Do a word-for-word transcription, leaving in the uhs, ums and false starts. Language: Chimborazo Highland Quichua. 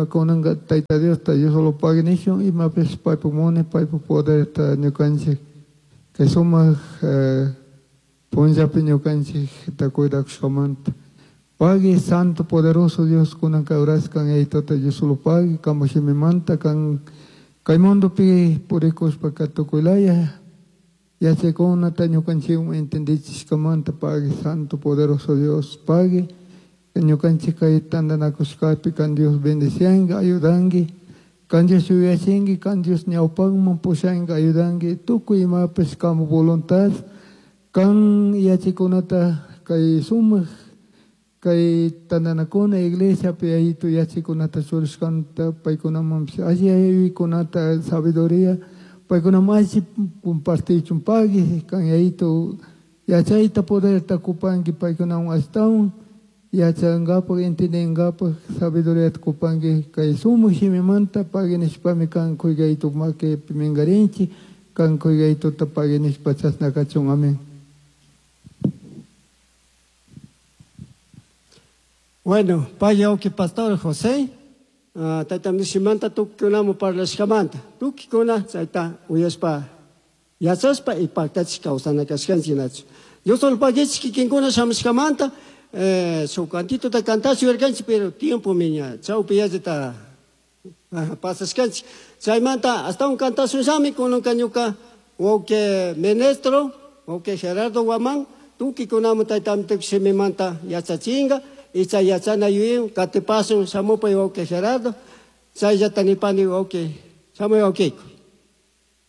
Kunanka Tayta Diosta Diosolo pagui nishun imapish paypak munay paypak poderta ñukanchik kay sumak punllapi ñukanchikta cuidakushkamanta. Pagui santo poderoso Dios kunanka horaskan Yayituta Diosolo pagui kanpak shimimanta kan kay mundopi purikushpaka tukuylaya yachaykunata ñukanchikwan entendichishkamanta pagui santo poderoso Dios pagui ñukanchik kay tantanakushkapi kan Dios bendicianki ayudanki kan Dios yuyachinki kan Dios ñawpakman pushanki ayudanki tukuy imapish kanpak voluntad kan yachaykunata kay sumak kay tantanakuna iglesiapi yayitu yachaykunata churashkanta paykunamanpish alli yuyaykunata sabiduría paykunaman alli compartichun pagui kan yayitu yachayta poderta kupanki paykunawan ashtawan yachankapak entendinkapak sabiduriata kupanki kay sumak shimimanta pagui nishpami kan kuyaytu makipi minkarinchik kan kuyaytuta pagui nishpa chashna kachun amén. Bueno, paya uki pastor José, uh, tayta mishimanta tukikunaman parlashkamanta, tukikuna chayta uyashpa yachashpa y paktachik kawsana kashkanchik nachu. Dios pagichik kikinkuna shamushkamanta, eh, shuk cantituta cantash yuyarkanchik, pero tiempo miña, chawpi yallita pasashkanchik. Chaymanta astawan cantashunllami kunanka ñuka wawqi ministro, wawqi Gerardo Guamán, tukikunaman tayta shimimanta yachachinka, y chay yachana yuyin katipasun shamupay wawqi Gerardo, chayllata nipani wawqi, shamuy wawqiyku.